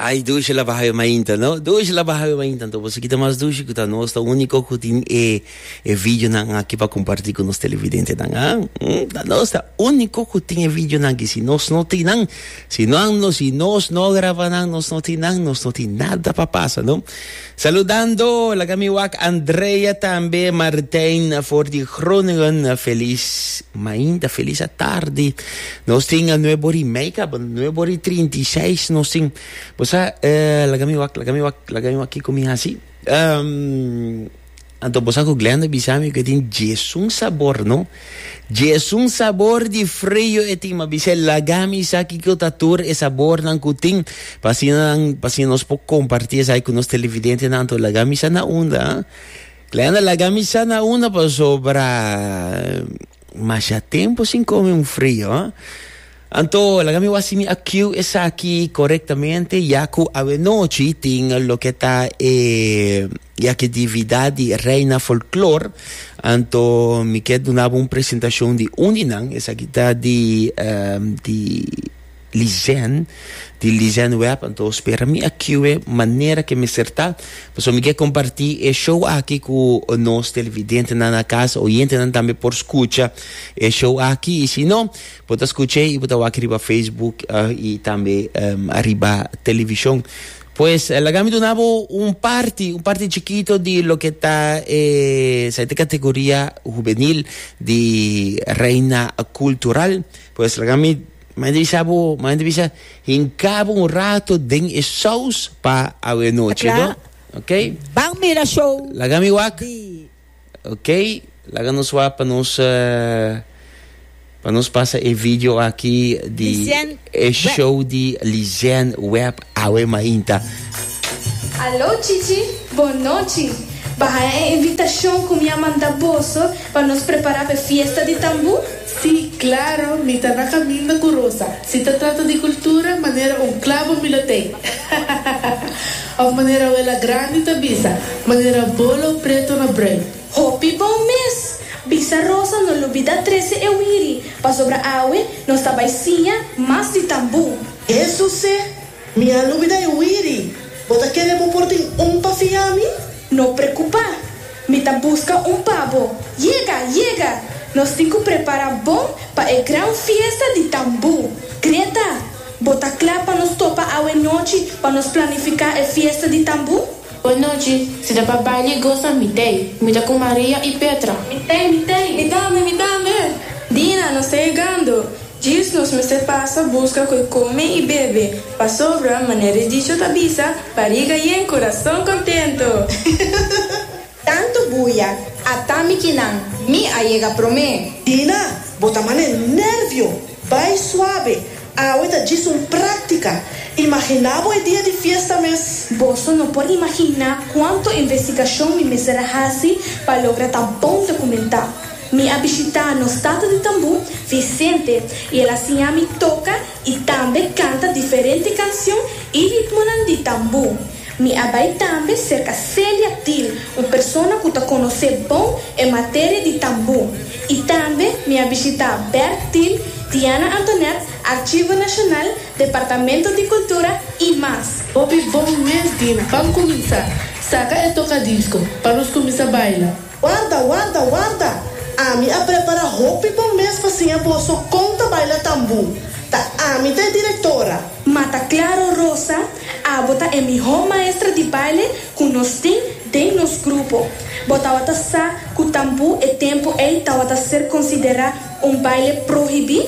Ay, dushi la baha mainta, no? Dushi la baha mainta. Anto boso kita mas dushi ku ta nos ta úniko ku tin e e videonan aki pa kompartí ku nos televidentenan, ah? Mm, ta nos ta úniko ku tin e videonan aki. Si nos no tin nan, si no, no, si nos no graba nan, nos no tin nan, nos no tin nada pa pasa, no? Saludando, laga mi wak Andrea tambe, Martijn for di Groningen. Felis mainta, felis atardi. Nos tin a nuebe ora y mei caba, nuebe ora y 36 nos tin. Bo sa, eh, laga mi wak, laga mi wak, laga mi wak kiko mi hasi. Um, Anto bo sa ku Glenda bisa mi ku e tin djesun sabor, no? Djesun sabor di frio e tin. Ma bis'é, laga mi sa kiko ta tur e sabornan ku tin, pa asina nan, pa asina nos por kompartí esaki ku nos televidentenan. Anto laga mi sa na unda, ah. Glenda, laga mi sa na unda pasobra masha tempu sin kome un frio, ah. Anto, laga mi wak si mi a cue esaki korektamente, ya ku awenochi tin loke ta e ya ke dividad di Reina Folklor. Anto mi ke duna bo un presentashon di un di nan, esaki ta di di Lizen, di Lizen Webb. Anto spera mi a cue manera ke mester ta, pasobra mi ke komparti e show aki ku nos televidentenan na kas, oyentenan tambe por skucha e show aki, i si no, Bo ta skuch'é i bo ta wak riba Facebook i tambe riba televishon. Pues laga mi duna bo un parti, un parti chikito di loke ta e sa e kategoria hubenil di Reina Kultural. Pues laga mi manda bisa bo, manda bisa hinka bo un rato den e saus pa awenochi, no? Ok? Ban mira show Laga mi wak. di. Ok, laga nos wak pa nos pa nos pasa e video aki di Lizen e Web. show di Lizen Web awe mainta. Alo Chichi, bon nochi. Ba haña e invitashon ku mi a manda boso pa nos prepará p'e fiesta di tambú? Sí, claro, mi ta na caminda cu Rosa. Si ta trata di cultura, manera un clabo mi lo tei. Of manera wela grandi ta bisa, manera bolo preto na bruin. Hopi bon mes! Bisa Rosa no lubida trece e wiri, pasobra awe nos ta bay siña mas di tambú. Jesuse, mi a lubida e wiri! Bo ta kere bo por tin un pa fia mi? No preocupa, mi ta busca un pa bo. Yega, yega! Nos tin cu prepara bon pa e gran fiesta di tambú. Greta, Bo ta kla pa nos topa awe nochi pa nos planifiká e fiesta di tambú? Bon nochi, si ta pa baila i gosa, mi t'ei. Mi ta ku Maria i Petra. Mi t'ei, mi t'ei. Mi tambe, mi tambe. Dina, nos ta yegando. Djis nos mester pasa buska ku e kome i bebe, pasobra, manera e dicho ta bisa, bariga yen, kurason kontento. Tantu buya, ata mi kinan, mi a yega promé. Dina, bo ta mane nervio! Bai suabe, awe ta djis un práktika. Imaginá bo e dia di fiesta mes. Boso no por imaginá kuantu investigashon mi mester a hasi pa logra ta bon dokumentá. Mi a bishitá nos tata di tambú, Vicente, i el a siña mi toka i tambe kanta diferente kansion i ritmonan di tambú. Mi a bai tambe serka Celia Thiel, un persona ku ta konosé bon e materia di tambú. I tambe mi a bishitá Bert Thiel, Diana Antonet, Archivo Nashonal, Departamento di Kultura i mas. Hopi bon mes, Dina. Ban kuminsá. Saka e tokadisko, pa nos kuminsá baila. Warda, warda, warda! Ami a prepará hopi bon mes pa siña boso kon ta baila tambú. Ta ami ta e direktora. Ma ta claro Rosa, abo ta e miho maestra di baile cu nos tin den nos grupo. Bo tawata sa cu tambu e tempo ey tawata ser considera un baile prohibi?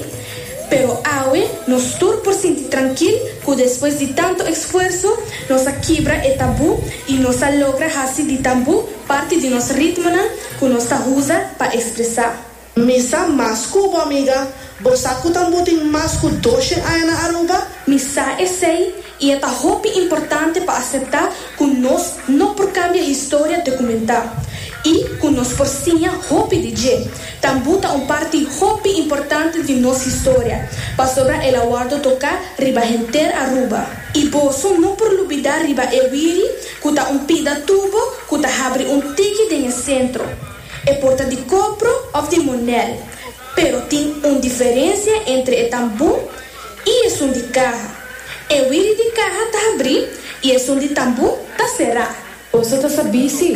Pero awe nos tur por sinti trankil cu despues di tanto esfuerzo nos a kibra e tabu y nos a logra haci di tambu parti di nos ritmonan cu nos ta usa pa expresa. Mi sa mas ku bo, amiga. Bo sa ku tambú tin mas ku doshen aña na Aruba? Mi sa esei, i e ta hopi importante pa aseptá ku nos no por kambia historia dokumentá i ku nos por siña hopi di dje. Tambú ta un parti hopi importante di nos historia, pasobra el a wòrdu toká riba henter Aruba. I boso no por lubidá riba e wiri, ku ta un pida tubo ku ta habri un tiki den e sentro. E por ta di kopro òf di monel, pero tin un diferensia entre e tambú i esun di kaha. E wiri di kaha ta habrí i esun di tambú ta será. Boso ta sabí sí,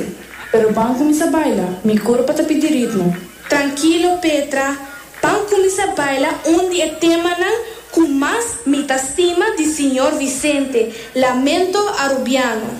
pero ban kuminsá baila, mi kurpa ta pidi ritmo. Trankilo Petra, ban kuminsá baila un di e temanan ku mas mi ta stima di Señor Vicente, Lamento Arubiano.